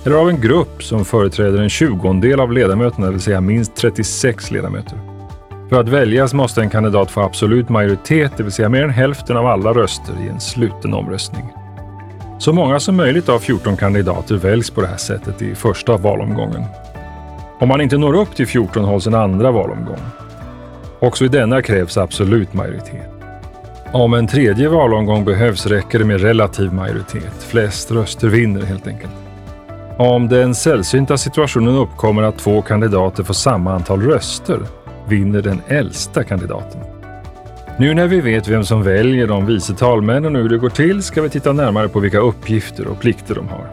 Eller av en grupp som företräder en tjugondel av ledamöterna, det vill säga minst 36 ledamöter. För att väljas måste en kandidat få absolut majoritet, det vill säga mer än hälften av alla röster i en sluten omröstning. Så många som möjligt av 14 kandidater väljs på det här sättet i första valomgången. Om man inte når upp till 14 hålls en andra valomgång. Också i denna krävs absolut majoritet. Om en tredje valomgång behövs räcker det med relativ majoritet. Flest röster vinner helt enkelt. Om den sällsynta situationen uppkommer att två kandidater får samma antal röster vinner den äldsta kandidaten. Nu när vi vet vem som väljer de vice talmännen och hur det går till ska vi titta närmare på vilka uppgifter och plikter de har.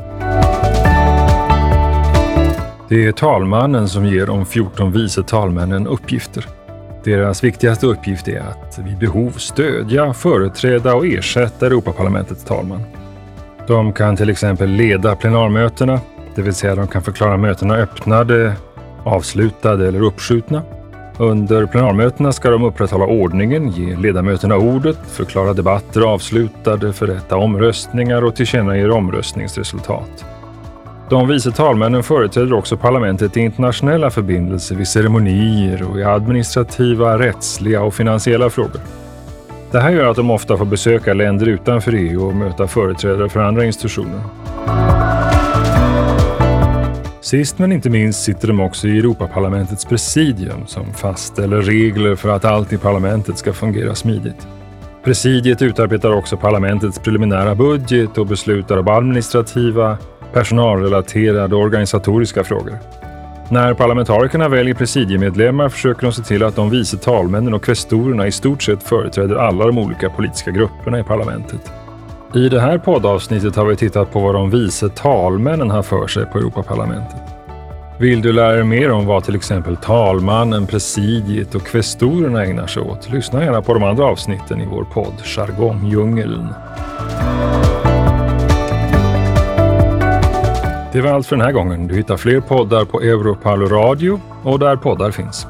Det är talmannen som ger de 14 vice talmännen uppgifter. Deras viktigaste uppgift är att vid behov stödja, företräda och ersätta Europaparlamentets talman. De kan till exempel leda plenarmötena, det vill säga de kan förklara mötena öppnade, avslutade eller uppskjutna. Under plenarmötena ska de upprätthålla ordningen, ge ledamöterna ordet, förklara debatter avslutade, förrätta omröstningar och tillkännage omröstningsresultat. De vice talmännen företräder också parlamentet i internationella förbindelser vid ceremonier och i administrativa, rättsliga och finansiella frågor. Det här gör att de ofta får besöka länder utanför EU och möta företrädare för andra institutioner. Sist men inte minst sitter de också i Europaparlamentets presidium som fastställer regler för att allt i parlamentet ska fungera smidigt. Presidiet utarbetar också parlamentets preliminära budget och beslutar om administrativa, personalrelaterade och organisatoriska frågor. När parlamentarikerna väljer presidiemedlemmar försöker de se till att de vice talmännen och kvestorerna i stort sett företräder alla de olika politiska grupperna i parlamentet. I det här poddavsnittet har vi tittat på vad de vice talmännen har för sig på Europaparlamentet. Vill du lära dig mer om vad till exempel talmannen, presidiet och kvestorerna ägnar sig åt? Lyssna gärna på de andra avsnitten i vår podd Jargongdjungeln. Det var allt för den här gången. Du hittar fler poddar på Europarl Radio och där poddar finns.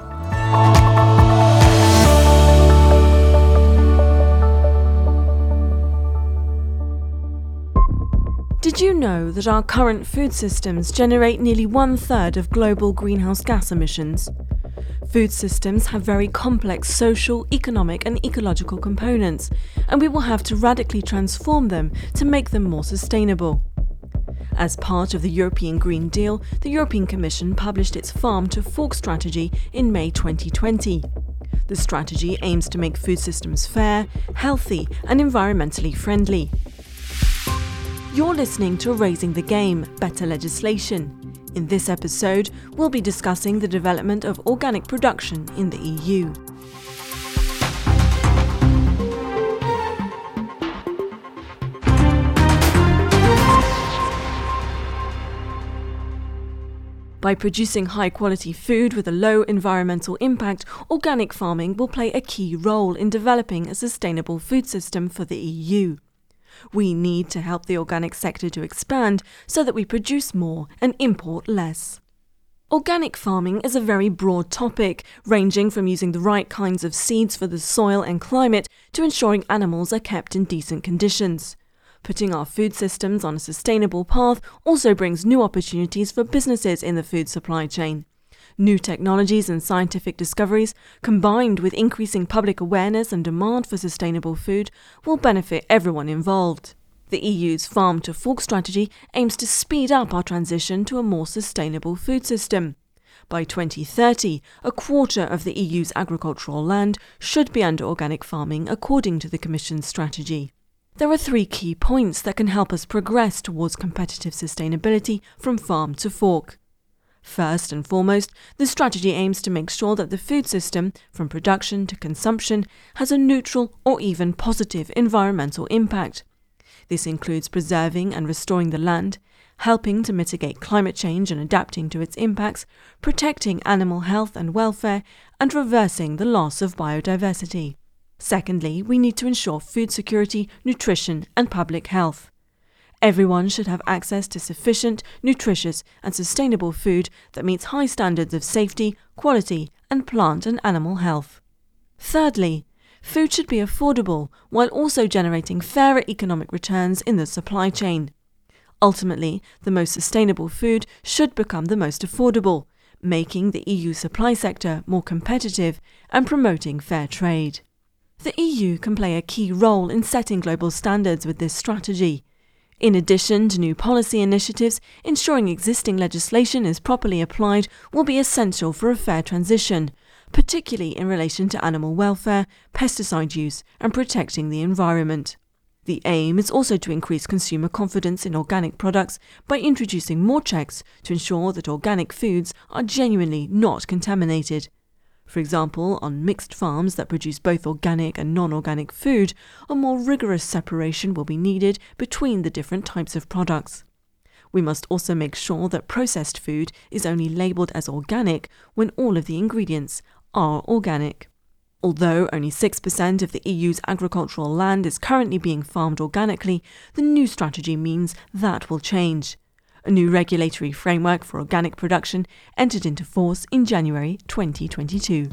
Did you know that our current food systems generate nearly one third of global greenhouse gas emissions? Food systems have very complex social, economic, and ecological components, and we will have to radically transform them to make them more sustainable. As part of the European Green Deal, the European Commission published its Farm to Fork strategy in May 2020. The strategy aims to make food systems fair, healthy, and environmentally friendly. You're listening to Raising the Game Better Legislation. In this episode, we'll be discussing the development of organic production in the EU. By producing high quality food with a low environmental impact, organic farming will play a key role in developing a sustainable food system for the EU. We need to help the organic sector to expand so that we produce more and import less. Organic farming is a very broad topic, ranging from using the right kinds of seeds for the soil and climate to ensuring animals are kept in decent conditions. Putting our food systems on a sustainable path also brings new opportunities for businesses in the food supply chain. New technologies and scientific discoveries, combined with increasing public awareness and demand for sustainable food, will benefit everyone involved. The EU's Farm to Fork strategy aims to speed up our transition to a more sustainable food system. By 2030, a quarter of the EU's agricultural land should be under organic farming, according to the Commission's strategy. There are three key points that can help us progress towards competitive sustainability from farm to fork. First and foremost, the strategy aims to make sure that the food system, from production to consumption, has a neutral or even positive environmental impact. This includes preserving and restoring the land, helping to mitigate climate change and adapting to its impacts, protecting animal health and welfare, and reversing the loss of biodiversity. Secondly, we need to ensure food security, nutrition, and public health. Everyone should have access to sufficient, nutritious, and sustainable food that meets high standards of safety, quality, and plant and animal health. Thirdly, food should be affordable while also generating fairer economic returns in the supply chain. Ultimately, the most sustainable food should become the most affordable, making the EU supply sector more competitive and promoting fair trade. The EU can play a key role in setting global standards with this strategy. In addition to new policy initiatives, ensuring existing legislation is properly applied will be essential for a fair transition, particularly in relation to animal welfare, pesticide use, and protecting the environment. The aim is also to increase consumer confidence in organic products by introducing more checks to ensure that organic foods are genuinely not contaminated. For example, on mixed farms that produce both organic and non organic food, a more rigorous separation will be needed between the different types of products. We must also make sure that processed food is only labelled as organic when all of the ingredients are organic. Although only 6% of the EU's agricultural land is currently being farmed organically, the new strategy means that will change. A new regulatory framework for organic production entered into force in January 2022.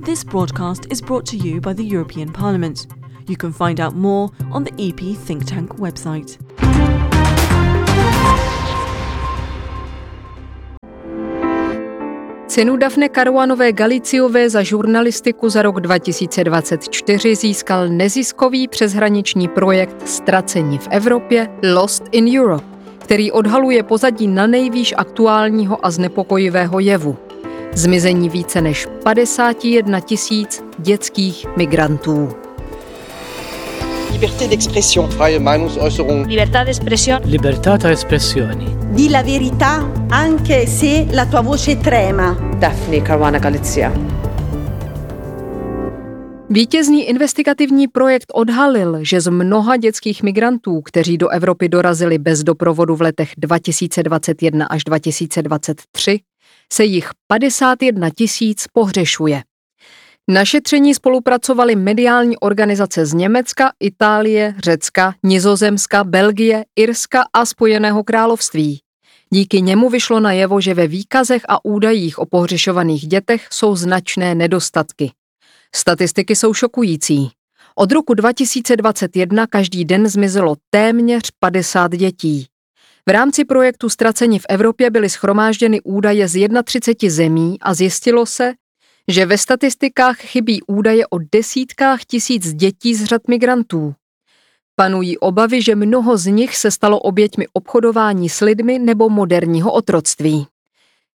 This broadcast is brought to you by the European Parliament. You can find out more on the EP Think Tank website. Cenu Daphne Caruanové Galiciové za žurnalistiku za rok 2024 získal neziskový přeshraniční projekt Ztraceni v Evropě Lost in Europe, který odhaluje pozadí nanejvýš aktuálního a znepokojivého jevu. Zmizení více než 51 tisíc dětských migrantů. Liberté d'expression. Freie Meinungsäußerung. Libertà d'espressione. Libertà ta' espressjoni. Di la verità anche se la tua voce trema. Daphne Caruana Galizia. Vítězný investigativní projekt odhalil, že z mnoha dětských migrantů, kteří do Evropy dorazili bez doprovodu v letech 2021 až 2023, se jich 51 tisíc pohřešuje. Na šetření spolupracovaly mediální organizace z Německa, Itálie, Řecka, Nizozemska, Belgie, Irska a Spojeného království. Díky němu vyšlo najevo, že ve výkazech a údajích o pohřešovaných dětech jsou značné nedostatky. Statistiky jsou šokující. Od roku 2021 každý den zmizelo téměř 50 dětí. V rámci projektu Ztraceni v Evropě byly shromážděny údaje z 31 zemí a zjistilo se, že ve statistikách chybí údaje o desítkách tisíc dětí z řad migrantů. Panují obavy, že mnoho z nich se stalo oběťmi obchodování s lidmi nebo moderního otroctví.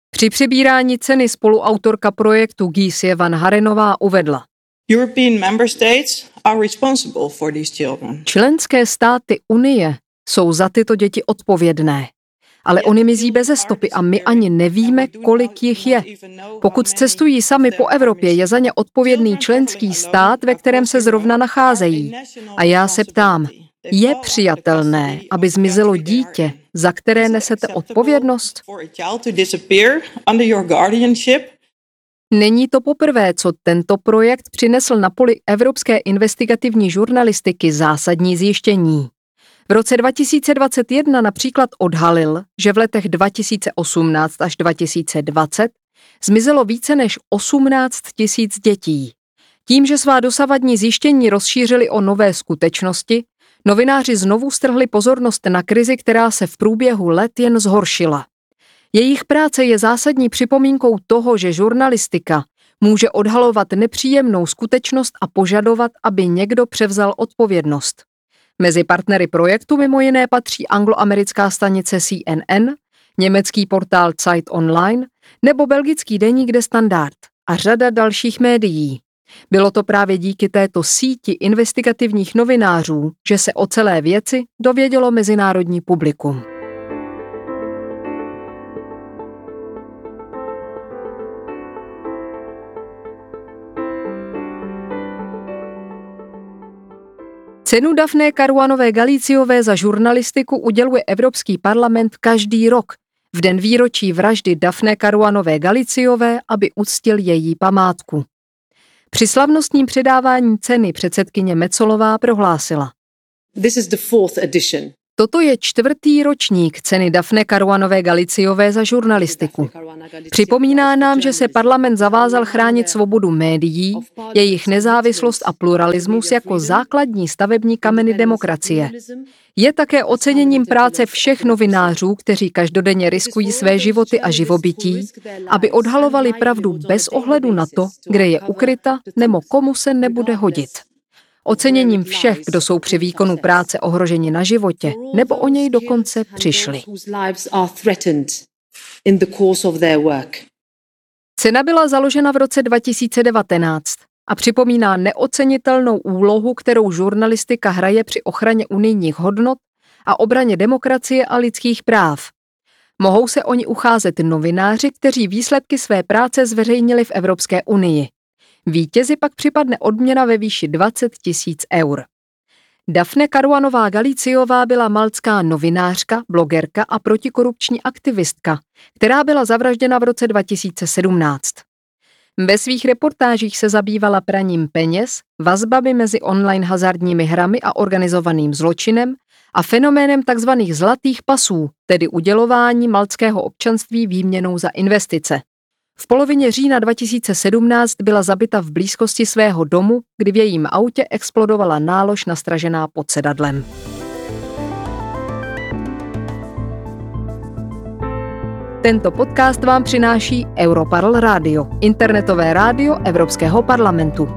Při přebírání ceny spoluautorka projektu Giesje van Harenová uvedla. European member states are responsible for these children. Členské státy Unie jsou za tyto děti odpovědné. Ale oni mizí beze stopy a my ani nevíme, kolik jich je. Pokud cestují sami po Evropě, je za ně odpovědný členský stát, ve kterém se zrovna nacházejí. A já se ptám, je přijatelné, aby zmizelo dítě, za které nesete odpovědnost? Není to poprvé, co tento projekt přinesl na poli evropské investigativní žurnalistiky zásadní zjištění. V roce 2021 například odhalil, že v letech 2018 až 2020 zmizelo více než 18 tisíc dětí. Tím, že svá dosavadní zjištění rozšířili o nové skutečnosti, novináři znovu strhli pozornost na krizi, která se v průběhu let jen zhoršila. Jejich práce je zásadní připomínkou toho, že žurnalistika může odhalovat nepříjemnou skutečnost a požadovat, aby někdo převzal odpovědnost. Mezi partnery projektu mimo jiné patří angloamerická stanice CNN, německý portál Zeit Online nebo belgický deník De Standard a řada dalších médií. Bylo to právě díky této síti investigativních novinářů, že se o celé věci dovědělo mezinárodní publikum. Cenu Daphne Caruanové Galiciové za žurnalistiku uděluje Evropský parlament každý rok v den výročí vraždy Daphne Caruanové Galiciové, aby uctil její památku. Při slavnostním předávání ceny předsedkyně Metsolová prohlásila. This is the fourth edition. Toto je čtvrtý ročník ceny Daphne Caruanové Galiciové za žurnalistiku. Připomíná nám, že se parlament zavázal chránit svobodu médií, jejich nezávislost a pluralismus jako základní stavební kameny demokracie. Je také oceněním práce všech novinářů, kteří každodenně riskují své životy a živobytí, aby odhalovali pravdu bez ohledu na to, kde je ukryta nebo komu se nebude hodit. Oceněním všech, kdo jsou při výkonu práce ohroženi na životě nebo o něj dokonce přišli. Cena byla založena v roce 2019 a připomíná neocenitelnou úlohu, kterou žurnalistika hraje při ochraně unijních hodnot a obraně demokracie a lidských práv. Mohou se o ni ucházet novináři, kteří výsledky své práce zveřejnili v Evropské unii. Vítězi pak připadne odměna ve výši 20 000 eur. Daphne Caruanová Galiziová byla maltská novinářka, blogerka a protikorupční aktivistka, která byla zavražděna v roce 2017. Ve svých reportážích se zabývala praním peněz, vazbami mezi online hazardními hrami a organizovaným zločinem a fenoménem tzv. Zlatých pasů, tedy udělování maltského občanství výměnou za investice. V polovině října 2017 byla zabita v blízkosti svého domu, kdy v jejím autě explodovala nálož nastražená pod sedadlem. Tento podcast vám přináší Europarl Radio, internetové rádio Evropského parlamentu.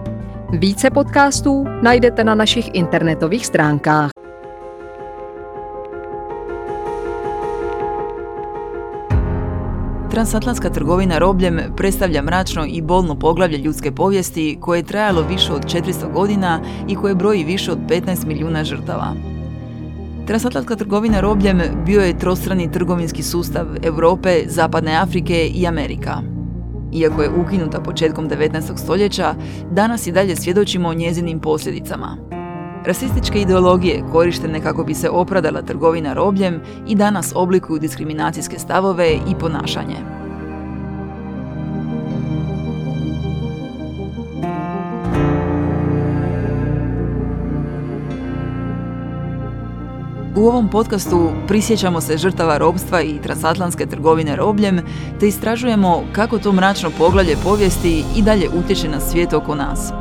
Více podcastů najdete na našich internetových stránkách. Transatlantska trgovina robljem predstavlja mračno i bolno poglavlje ljudske povijesti koje je trajalo više od 400 godina i koje broji više od 15 milijuna žrtava. Transatlantska trgovina robljem bio je trostrani trgovinski sustav Europe, Zapadne Afrike i Amerika. Iako je ukinuta početkom 19. stoljeća, danas i dalje svjedočimo o njezinim posljedicama. Rasističke ideologije korištene kako bi se opravdala trgovina robljem i danas oblikuju diskriminacijske stavove i ponašanje. U ovom podcastu prisjećamo se žrtava robstva i transatlantske trgovine robljem, te istražujemo kako to mračno poglavlje povijesti i dalje utječe na svijet oko nas.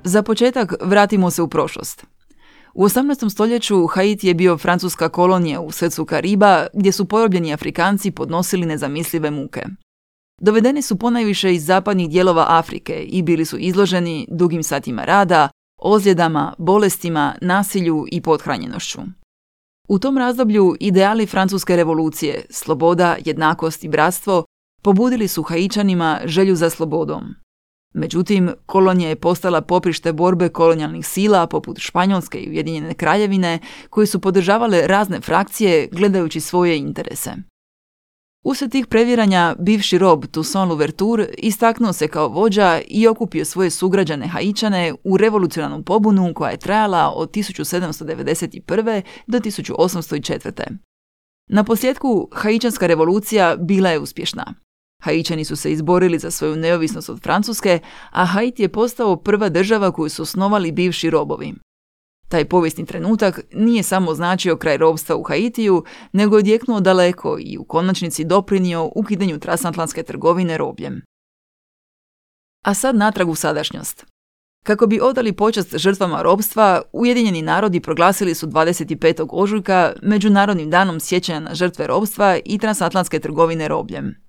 Za početak vratimo se u prošlost. U 18. stoljeću Haiti je bio francuska kolonija u srcu Kariba, gdje su porobljeni Afrikanci podnosili nezamislive muke. Dovedeni su ponajviše iz zapadnih dijelova Afrike i bili su izloženi dugim satima rada, ozljedama, bolestima, nasilju i pothranjenošću. U tom razdoblju ideali Francuske revolucije, sloboda, jednakost i bratstvo, pobudili su Haićanima želju za slobodom. Međutim, kolonija je postala poprište borbe kolonijalnih sila poput Španjolske i Ujedinjene Kraljevine, koje su podržavale razne frakcije gledajući svoje interese. Usred tih previranja, bivši rob Toussaint Louverture istaknuo se kao vođa i okupio svoje sugrađane Haićane u revolucionarnu pobunu koja je trajala od 1791. do 1804. Na posljetku, Haićanska revolucija bila je uspješna. Haićani su se izborili za svoju neovisnost od Francuske, a Haiti je postao prva država koju su osnovali bivši robovi. Taj povijesni trenutak nije samo značio kraj robstva u Haitiju, nego je odjeknuo daleko i u konačnici doprinio ukidanju transatlantske trgovine robljem. A sad natrag u sadašnjost. Kako bi odali počast žrtvama robstva, Ujedinjeni narodi proglasili su 25. ožujka Međunarodnim danom sjećanja na žrtve robstva i transatlantske trgovine robljem.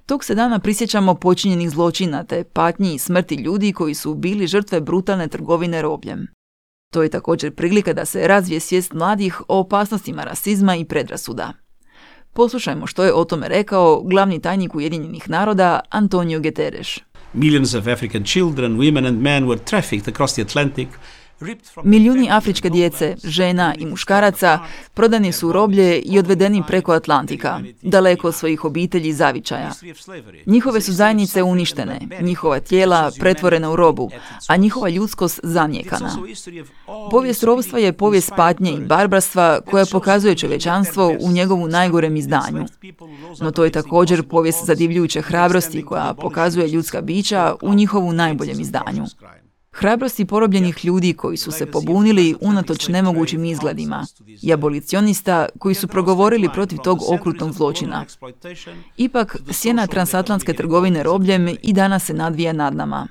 Tog se dana prisjećamo počinjenih zločina te patnji i smrti ljudi koji su bili žrtve brutalne trgovine robljem. To je također prilika da se razvije svijest mladih o opasnostima rasizma i predrasuda. Poslušajmo što je o tome rekao glavni tajnik Ujedinjenih naroda Antonio Guterres. Millions of African children, women and men were trafficked across the Atlantic. Milijuni afričke djece, žena i muškaraca prodani su u roblje i odvedeni preko Atlantika, daleko od svojih obitelji i zavičaja. Njihove su zajednice uništene, njihova tijela pretvorena u robu, a njihova ljudskost zanijekana. Povijest robstva je povijest patnje i barbarstva koja pokazuje čovječanstvo u njegovu najgorem izdanju. No to je također povijest zadivljujuće hrabrosti koja pokazuje ljudska bića u njihovu najboljem izdanju. Hrabrosti porobljenih ljudi koji su se pobunili unatoč nemogućim izgledima i abolicionista koji su progovorili protiv tog okrutnog zločina. Ipak, sjena transatlantske trgovine robljem i danas se nadvija nad nama.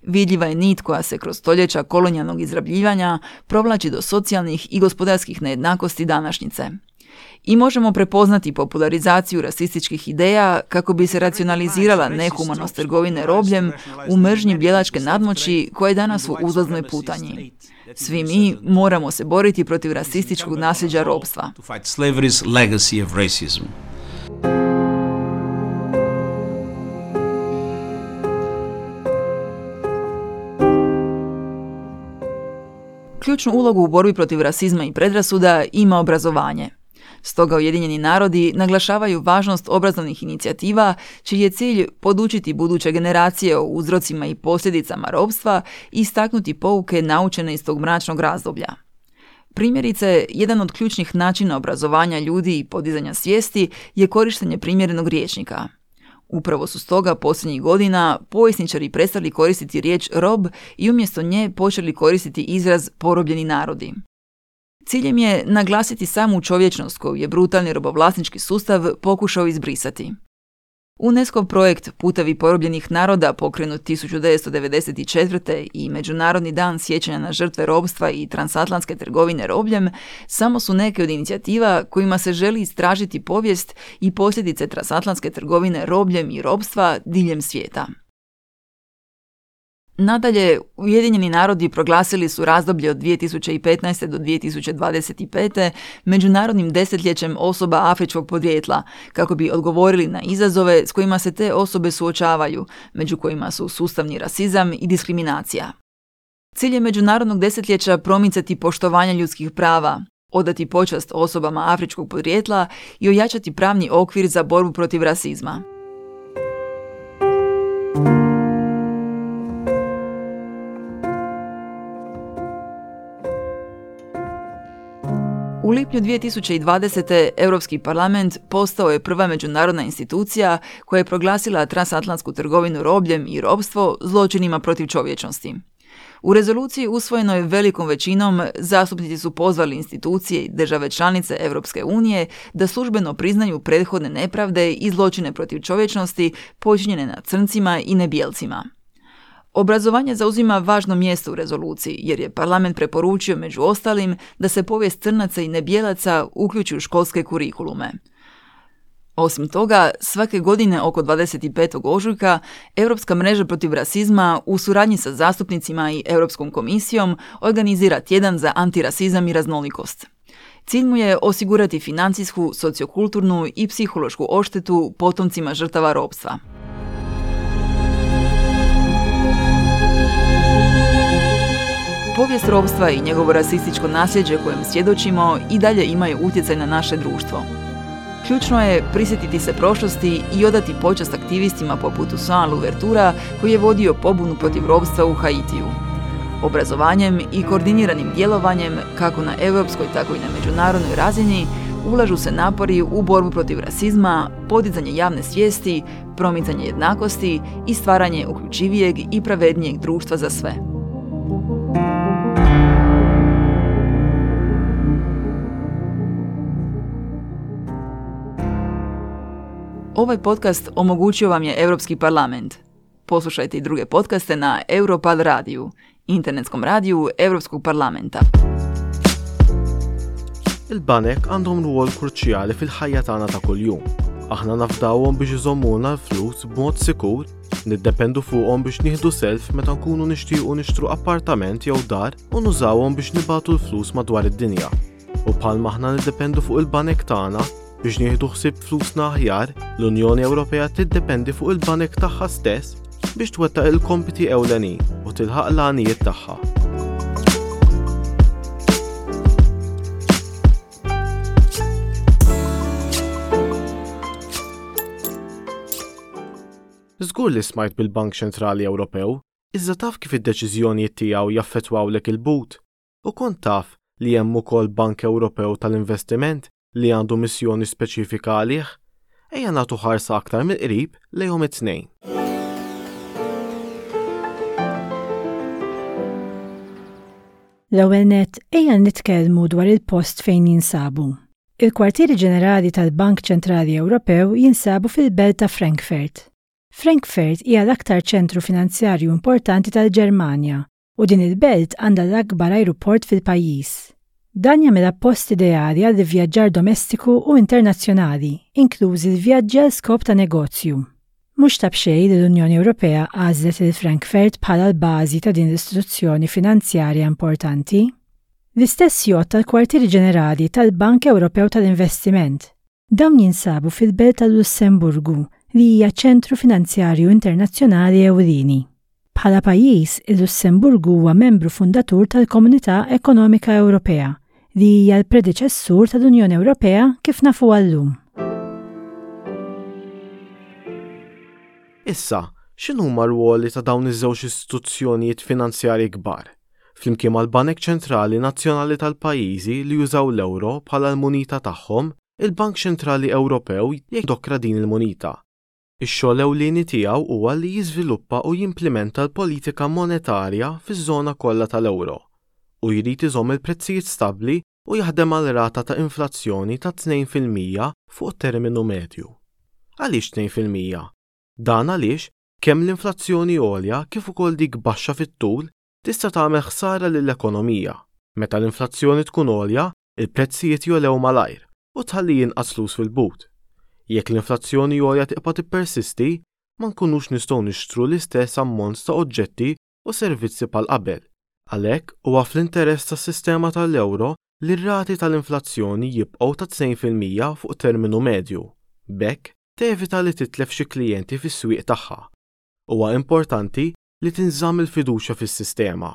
Vidljiva je nit koja se kroz stoljeća kolonijalnog izrabljivanja provlači do socijalnih i gospodarskih nejednakosti današnjice. I možemo prepoznati popularizaciju rasističkih ideja kako bi se racionalizirala nehumanost trgovine robljem u mržnji bijelačke nadmoći koja je danas u uzlaznoj putanji. Svi mi moramo se boriti protiv rasističkog nasljeđa ropstva. To fight slavery's legacy of racism. Ključnu ulogu u borbi protiv rasizma i predrasuda ima obrazovanje. Stoga Ujedinjeni narodi naglašavaju važnost obrazovnih inicijativa, čiji je cilj podučiti buduće generacije o uzrocima i posljedicama ropstva i istaknuti pouke naučene iz tog mračnog razdoblja. Primjerice, jedan od ključnih načina obrazovanja ljudi i podizanja svijesti je korištenje primjerenog rječnika. Upravo su stoga posljednjih godina povjesničari prestali koristiti riječ rob i umjesto nje počeli koristiti izraz porobljeni narodi. Ciljem je naglasiti samu čovječnost koju je brutalni robovlasnički sustav pokušao izbrisati. UNESCO projekt Putevi porobljenih naroda pokrenut 1994. i Međunarodni dan sjećanja na žrtve robstva i transatlantske trgovine robljem samo su neke od inicijativa kojima se želi istražiti povijest i posljedice transatlantske trgovine robljem i robstva diljem svijeta. Nadalje, Ujedinjeni narodi proglasili su razdoblje od 2015. do 2025. međunarodnim desetljećem osoba afričkog podrijetla, kako bi odgovorili na izazove s kojima se te osobe suočavaju, među kojima su sustavni rasizam i diskriminacija. Cilj je međunarodnog desetljeća promicati poštovanje ljudskih prava, odati počast osobama afričkog podrijetla i ojačati pravni okvir za borbu protiv rasizma. U lipnju 2020. Europski parlament postao je prva međunarodna institucija koja je proglasila transatlantsku trgovinu robljem i robstvo zločinima protiv čovječnosti. U rezoluciji usvojenoj velikom većinom zastupnici su pozvali institucije i države članice Europske unije da službeno priznaju prethodne nepravde i zločine protiv čovječnosti počinjene nad crncima i nebijelcima. Obrazovanje zauzima važno mjesto u rezoluciji, jer je parlament preporučio među ostalim da se povijest crnaca i nebijelaca uključi u školske kurikulume. Osim toga, svake godine oko 25. ožujka Europska mreža protiv rasizma u suradnji sa zastupnicima i Europskom komisijom organizira tjedan za antirasizam i raznolikost. Cilj mu je osigurati financijsku, sociokulturnu i psihološku odštetu potomcima žrtava ropstva. Povijest ropstva i njegovo rasističko nasljeđe kojem svjedočimo i dalje imaju utjecaj na naše društvo. Ključno je prisjetiti se prošlosti i odati počast aktivistima poput Toussaint Louvertura koji je vodio pobunu protiv ropstva u Haitiju. Obrazovanjem i koordiniranim djelovanjem, kako na europskoj tako i na međunarodnoj razini, ulažu se napori u borbu protiv rasizma, podizanje javne svijesti, promicanje jednakosti i stvaranje uključivijeg i pravednijeg društva za sve. Ovaj podcast omogućio vam je Europski parlament. Poslušajte i druge podcaste na Europarl radiju, internetskom radiju Europskog parlamenta. Il-banek għandhom rwol kruċjali fil-ħajja tagħna ta' kuljum. Aħna nafdawhom biex iżommulna l-flus b'mod sikur, niddependu fuqhom biex nieħdu self meta nkunu nixtiequ nixtru appartament jew dar u nużawhom biex nibagħtu l-flus madwar id-dinja. U bħalma aħna niddependu fuq il-banek tagħna biex nieħdu ħsieb flusna aħjar, l-Unjoni Ewropea tiddependi fuq il-banek tagħha stess biex twettaq il-kompiti ewlenin u tilħaq l-għanijiet tagħha. Żgur li smajt bil-Bank Ċentrali Ewropew, iżda taf kif id-deċiżjonijiet tiegħu jaffettwawlek il-but? U kont taf li hemm ukoll Bank Ewropew tal-Investiment li għandu missjoni speċifika għalih? Ejja nagħtu ħarsa aktar mill-qrib lejhom it-tnejn. L-ewwel nett, ejja nitkellmu dwar il-post fejn jinsabu. Il-kwartieri ġenerali tal-Bank Ċentrali Ewropew jinsabu fil-belt ta' Frankfurt. Frankfurt hija l-aktar ċentru finanzjarju importanti tal-Ġermanja u din il-belt għandha l-akbar ajruport fil-pajjiż. Dan jagħmilha post ideali għall-ivvjaġġar domestiku u internazzjonali, inklużi l-vjaġġi għal skop ta' negozju. Mhux ta' b'xejn li l-Unjoni Ewropea għażlet lil Frankfurt bħala l-bażi ta' din l-istituzzjoni finanzjarja importanti. L-istess jgħodd għall-kwartieri ġenerali tal-Bank Ewropew tal-Investiment. Dawn jinsabu fil-belt tal-Lussemburgu li hija ċentru finanzjarju internazzjonali ewlieni. Bħala pajjiż, il-Lussemburgu huwa membru fundatur tal-Komunità Ekonomika Ewropea, li hija l-predeċessur tal-Unjoni Ewropea kif nafuha llum. Issa, x'inhuma r-rwoli ta' dawn iż-żewġ istituzzjonijiet finanzjarji kbar, flimkien mal-banek ċentrali nazzjonali tal-pajjiżi li jużaw l-euro bħala l-munita tagħhom, il-Bank Ċentrali Ewropew jindokra din il-munita. Ix-xogħol ewlieni tiegħu huwa li jiżviluppa u jimplimenta l-politika monetarja fiż-żona kollha tal-euro, u jrid iżomm il-prezzijiet stabbli u jaħdem għal rata ta' inflazzjoni ta' 2% fuq terminu medju. Għaliex 2%? Dan għaliex kemm l-inflazzjoni għolja kif ukoll dik baxxa fit-tul tista' tagħmel ħsara lill-ekonomija. Meta l-inflazzjoni tkun għolja, il-prezzijiet jogħlew malajr u tħalli inqas flus fil-but. Jekk l-inflazzjoni għolja tibqa' tippersisti, ma nkunux nistgħu nixtru l-istess ammont ta' oġġetti u servizzi bħal qabel. Għalhekk, huwa fl-interess tas-sistema tal-euro li r-rati tal-inflazzjoni jibqgħu ta' 2% fuq terminu medju. B'hekk, tevita li titlef xi klijenti fis-swieq tagħha. Huwa importanti li tinżamm il-fiduċja fis-sistema.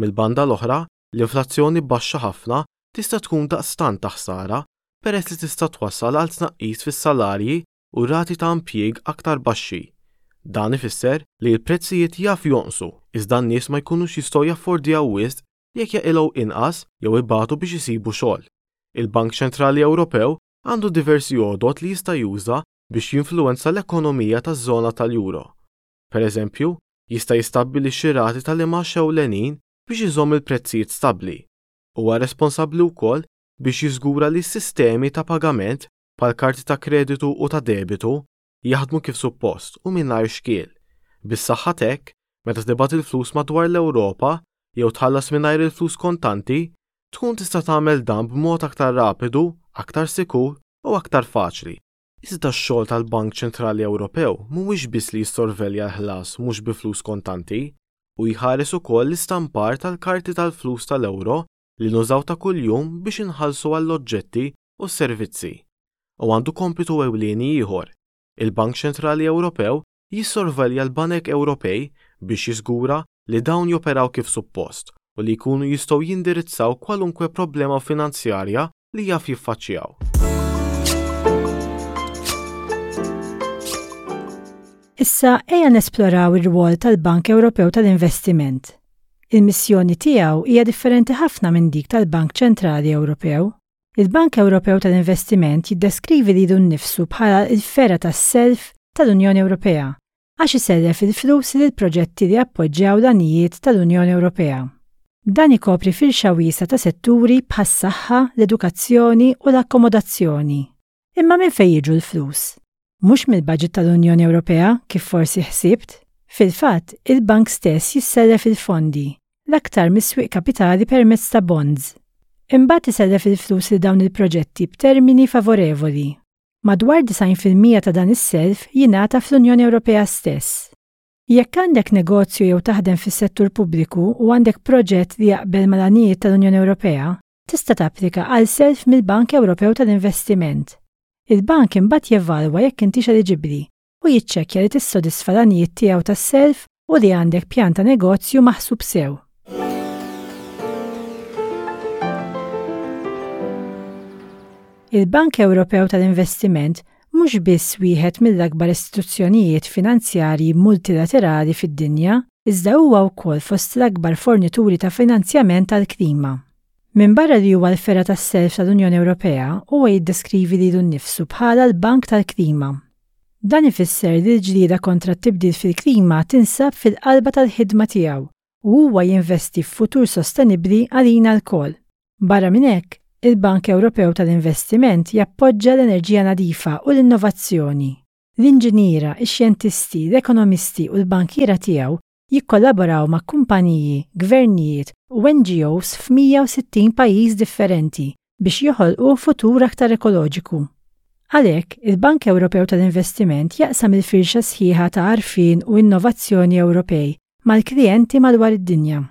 Mill-banda l-oħra, l-inflazzjoni baxxa ħafna tista' tkun daqstant ta' ħsara peress li tista' twassal għal tnaqqis fis-salarji u rati ta' impjieg aktar baxxi. Dan ifisser li l-prezzijiet jaf jonqsu iżda n-nies ma jkunux jistgħu jaffordjaw wisq jekk jaqilgħu inqas jew ibatu biex isibu xogħol. Il-Bank Ċentrali Ewropew għandu diversi għodod li jista' juża biex jinfluwenza l-ekonomija taż-żona tal-euro. Pereżempju, jista' jistabbilixxi rati tal-imgħax ewlenin biex iżomm il-prezzijiet stabbli. Huwa responsabbli wkoll biex jiżgura li s-sistemi ta' pagament, bħal karti ta' kreditu u ta' debitu, jaħdmu kif suppost u mingħajr xkiel. Bis-saħħa t'hekk, meta tibgħat il-flus madwar l-Ewropa jew tħallas mingħajr il-flus kontanti, tkun tista' tagħmel dan b'mod aktar rapidu, aktar sikur u aktar faċli. Iżda x-xogħol tal-Bank Ċentrali Ewropew mhuwiex biss li jissorvelja l-ħlas mhux bi flus kontanti, u jħares ukoll l-istampar tal-karti tal-flus tal-euro li nużaw ta' kuljum biex inħallsu għall-oġġetti u s-servizzi. U għandu kompitu ewlieni ieħor, il-Bank Ċentrali Ewropew jissorvelja l-banek Ewropej biex jiżgura li dawn joperaw kif suppost u li jkunu jistgħu jindirizzaw kwalunkwe problema finanzjarja li jaf jiffaċċjaw. Issa ejja nesploraw ir-rwol tal-Bank Ewropew tal-Investiment. Il-missjoni tiegħu hija differenti ħafna minn dik tal-Bank Ċentrali Ewropew. Il-Bank Ewropew tal-Investiment jiddeskrivi lilu nnifsu bħala l-fergħa tas-self tal-Unjoni Ewropea għax isellef il-flus lil proġetti li jappoġġjaw l-għanijiet tal-Unjoni Ewropea. Dan ikopri firxa wiesgħa ta' setturi bħas-saħħa, l-edukazzjoni u l-akkomodazzjoni. Imma minn fejn jiġu l-flus? Mhux mill-baġit tal-Unjoni Ewropea, kif forsi ħsibt. Fil-fatt, il-bank stess jissellef il-fondi, l-aktar mis-swieq kapitali permezz ta' bonds. Imbagħad isellef il-flus lil dawn il-proġetti b'termini favorevoli. Madwar 90% ta' dan is-self jingħata fl-Unjoni Ewropea stess. Jekk għandek negozju jew taħdem fis-settur pubbliku u għandek proġett li jaqbel mal-għanijiet tal-Unjoni Ewropea, tista' tapplika għal self mill-Bank Ewropew tal-Investiment. Il-bank imbagħad jevalwa jekk intix eliġibbli u jiċċekkja li tissodisfa l-għanijiet tiegħu tas-self u li għandek pjan ta' negozju maħsub sew. Il-Bank Ewropew tal-Investiment mhux biss wieħed mill-akbar istituzzjonijiet finanzjarji multilaterali fid-dinja, iżda huwa wkoll fost l-akbar fornituri ta' finanzjament għall-klima. Minbarra li huwa l-fergħa tas-self tal-Unjoni Ewropea, huwa jiddeskrivi lilu nnifsu bħala l-Bank tal-Klima. Dan ifisser li l-ġlieda kontra t-tibdil fil-klima tinsab fil-qalba tal-ħidma tiegħu u huwa jinvesti f'futur sostenibbli għalina lkoll. Barra minn hekk, il-Bank Ewropew tal-Investiment jappoġġa l-enerġija nadifa u l-innovazzjoni. L-inġiniera, ix-xjentisti, l-ekonomisti u l-bankiera tiegħu jikkollaboraw ma' kumpaniji, gvernijiet u NGOs f'160 pajjiż differenti biex joħolqu futur aktar ekoloġiku. Għalhekk, il-Bank Ewropew tal-Investiment jaqsam il-firxa sħiħa ta' għarfien u innovazzjoni Ewropej mal-klijenti madwar id-dinja.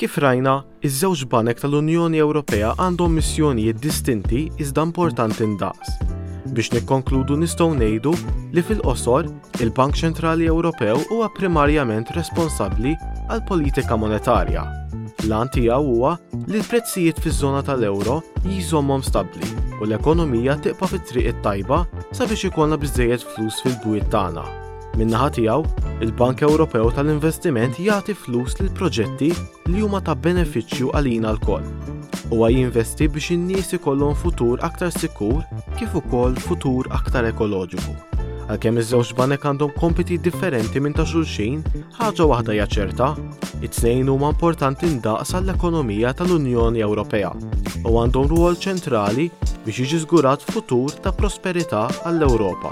Kif rajna, iż-żewġ banek tal-Unjoni Ewropea għandhom missjonijiet distinti iżda importanti ndaqs. Biex nikkonkludu nistgħu ngħidu li fil-qosor, il-Bank Ċentrali Ewropew huwa primarjament responsabbli għall-politika monetarja. L-għan tiegħu huwa li l-prezzijiet fiż-żona tal-euro jżommhom stabbli u l-ekonomija tibqa' fit-triq it-tajba sabiex ikollna biżżejjed flus fil-bwiet tagħna. Min-naħa tiegħu, il-Bank Ewropew tal-Investiment jagħti flus lil proġetti li huma ta' benefiċċju għalina lkoll. Huwa jinvesti biex in-nies ikollhom futur aktar sikur kif ukoll futur aktar ekoloġiku. Għalkemm iż-żewġ banek għandhom kompiti differenti minn ta' xulxin, ħaġa waħda hija ċerta, it-tnejn huma importanti ndaqs għall-ekonomija tal-Unjoni Ewropea u għandhom rwol ċentrali biex jiġi żgurat futur ta' prosperità għall-Ewropa.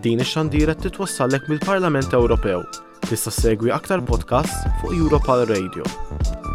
Din ix-xandira titwassallek mill-Parlament Ewropew. Tista' ssegwi aktar podcasts fuq Europal Radio.